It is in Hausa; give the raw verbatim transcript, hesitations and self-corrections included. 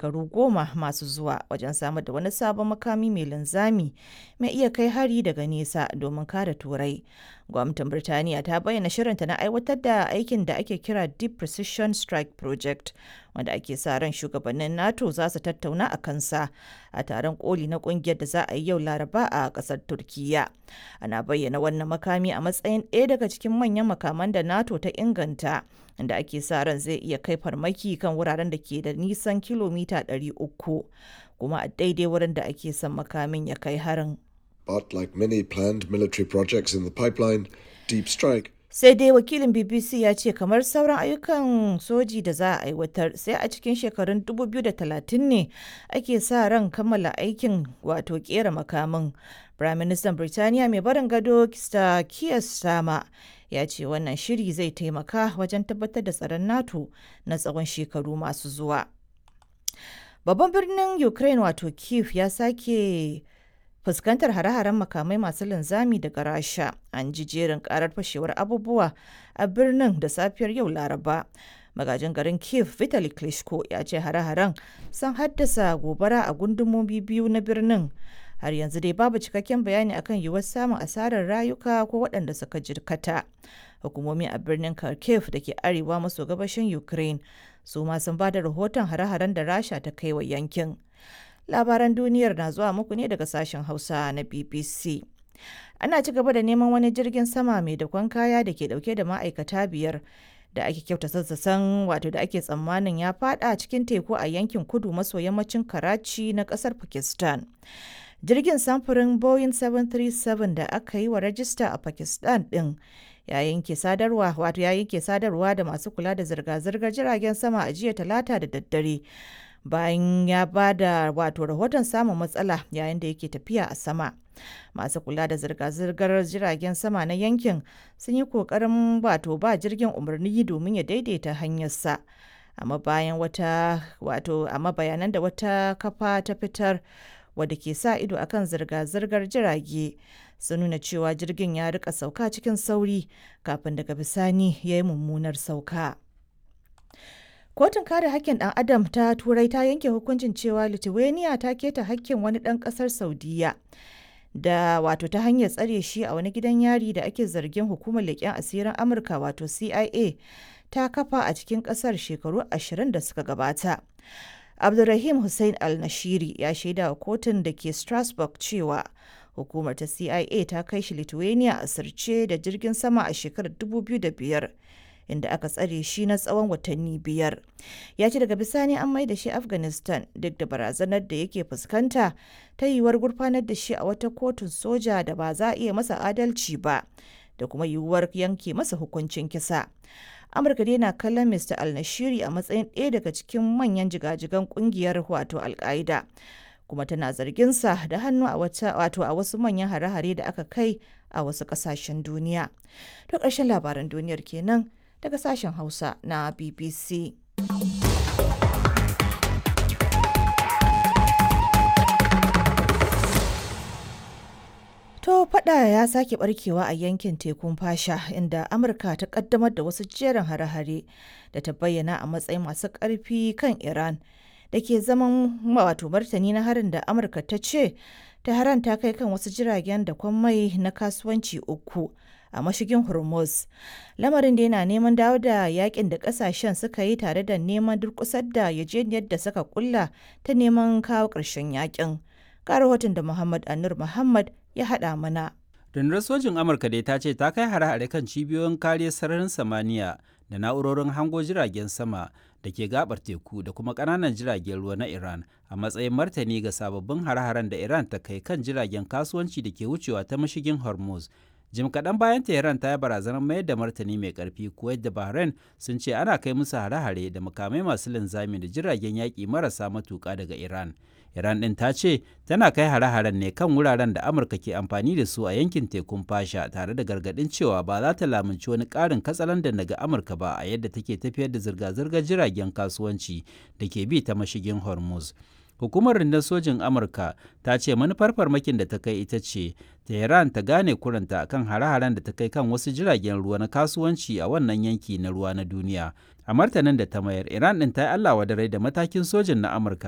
Shekaru goma masu zuwa wajen samar da wani sabon makami mai linzami mai iya kai hari daga nesa domin kare Turai. Gwamnatin Birtaniya ta bayyana shirinta na aiwatar da aikin da ake kira Deep Precision Strike Project, wanda ake sa ran shugabannin NATO za su tattauna a kansa a taron koli na kungiyar da za a yi yau Laraba a kasar Turkiyya. Ana bayyana wannan makami a matsayin ɗaya daga cikin manyan makaman da NATO ta inganta, inda ake sa ran zai iya kai farmaki kan wuraren da ke da nisan kilomita ɗari uku, kuma a daidai wurin da ake son makamin ya kai harin. But like many planned military projects in the pipeline, Deep Strike Sai dai wakilin B B C ya ce kamar sauran ayyukan soji da za a aiwatar, sai a cikin shekarun dubu biyu da talatin ne ake sa ran kammala aikin, wato kera makamin. Firaministan Birtaniya mai barin gado Sir Keir Starmer ya ce wannan shiri zai taimaka wajen tabbatar da tsaron NATO na tsawon shekaru masu zuwa. Babban birnin Ukraine wato Kyiv ya sake fuskantar hare-haren makamai masu linzami daga Rasha. An ji jerin karar fashewar abubuwa a birnin da safiyar yau Laraba. Magajin garin Kiev Vitali Klitschko ya ce hare-haren sun haddasa gobara a gundumomi biyu na birnin. Har yanzu dai babu cikakken bayani akan yiwuwar samun asarar rayuka ko waɗanda suka jirkata. Hukumomi a birnin Kharkiv da ke arewa maso gabashin Ukraine su ma sun ba da rahoton hare-haren da Rasha ta kai wa yankin. Labaran duniyar na zuwa muku ne daga sashen Hausa na B B C. Ana ci gaba da neman wani jirgin sama mai dakon kaya da ke dauke da ma'aikata biyar da ake kyauta sassasan, wato da ake tsammanin ya fada cikin teku a yankin kudu maso yammacin Karachi na kasar Pakistan. Jirgin samfurin Boeing bakwai uku bakwai da aka yi wa rajista a Pakistan din ya yanke sadarwa, wato ya yanke sadarwa da masu kula da zirga-zirgar jiragen sama a jiya Talata da daddare, bayan ya ba da wato rahoton samun matsala yayin da yake tafiya a sama. Masu kula da zirga-zirgar jiragen sama na yankin sun yi kokarin wato ba jirgin umarni domin ya daidaita hanyarsa, amma bayan wata wato amma bayanan da wata kafa ta fitar wadda ke sa ido akan zirga-zirgar jirage sun nuna cewa jirgin ya rika sauka cikin sauri kafin daga bisani ya yi mummunar sauka. Kotun kare hakkin ɗan Adam ta Turai ta yanke hukuncin cewa Lithuania ta keta hakkin wani ɗan ƙasar Saudiyya da wato ta hanyar tsare shi a wani gidan yari da ake zargin hukumar leƙen asirin Amurka wato C I A ta kafa a cikin ƙasar shekaru ashirin da suka gabata. Abdulrahim Hussein Al-Nashiri ya shaida wa kotun da ke Strasbourg cewa hukumar ta C I A ta kai shi Lithuania a sirce da jirgin sama a shekarar dubu biyu da biyar, inda aka tsare shi na tsawon watanni biyar. Ya ce daga bisani an mai da shi Afghanistan duk da barazanar da yake fuskanta ta yiwuwar gurfanar da shi a wata kotun soja da ba za a iya masa adalci ba, da kuma yiwuwar yanke masa hukuncin kisa. Amurka dai na kallon Mister Al-Nashiri a matsayin ɗaya daga cikin manyan jigajigan kungiyar wato Al-Qaida, kuma tana zarginsa da hannu a wata wato a wasu manyan hare-hare da aka kai a wasu ƙasashen duniya. To, ƙarshen labaran duniyar kenan daga sashen Hausa na B B C. To, fada ya sake barkewa a yankin tekun Fasha, inda Amurka ta kaddamar da wasu jerin hare-hare da ta bayyana a matsayin masu ƙarfi kan Iran, da ke zaman wato martani na harin da Amurka ta ce Tehran ta kai kan wasu jiragen da kwan mai na kasuwanci uku a mashigin Hormuz. Lamarin da yana neman dawo da yakin da kasashen suka yi tare da neman durkusar da yajeniyar da suka kulla ta neman kawo ƙarshen yakin. Ga rahoton da Muhammad Anur Muhammad ya haɗa mana. Rundunar sojin Amurka dai ta ce ta kai hare-hare kan cibiyoyin kariyar sararin samaniya da na'urorin hango jiragen sama da ke gabar teku da kuma ƙananan jiragen ruwa na Iran a matsayin martani ga sababbin hare-haren da Iran ta kai kan jiragen kasuwanci da ke wucewa ta mashigin Hormuz. Jim kaɗan bayan Tehran ta yi barazanar mayar da martani mai ƙarfi, Kuwait da Bahrain sun ce ana kai musu hare-hare da makamai masu linzami da jiragen yaƙi marasa matuƙa daga Iran. Iran ɗin ta ce tana kai hare-haren ne kan wuraren da Amurka ke amfani da su a yankin tekun Fasha, tare da gargaɗin cewa ba za ta lamunci wani ƙarin katsalandan daga Amurka ba a yadda take tafiyar da zirga-zirgar jiragen kasuwanci da ke bi ta mashigin Hormuz. Hukumar rundunar sojin Amurka ta ce manufar farmakin da ta kai ita ce Tehran ta gane kuranta kan hare-haren da ta kai kan wasu jiragen ruwa na kasuwanci a wannan yanki na ruwa na duniya. A martanin da ta mayar, Iran ɗin ta yi Allah wadarai da matakin sojin na Amurka.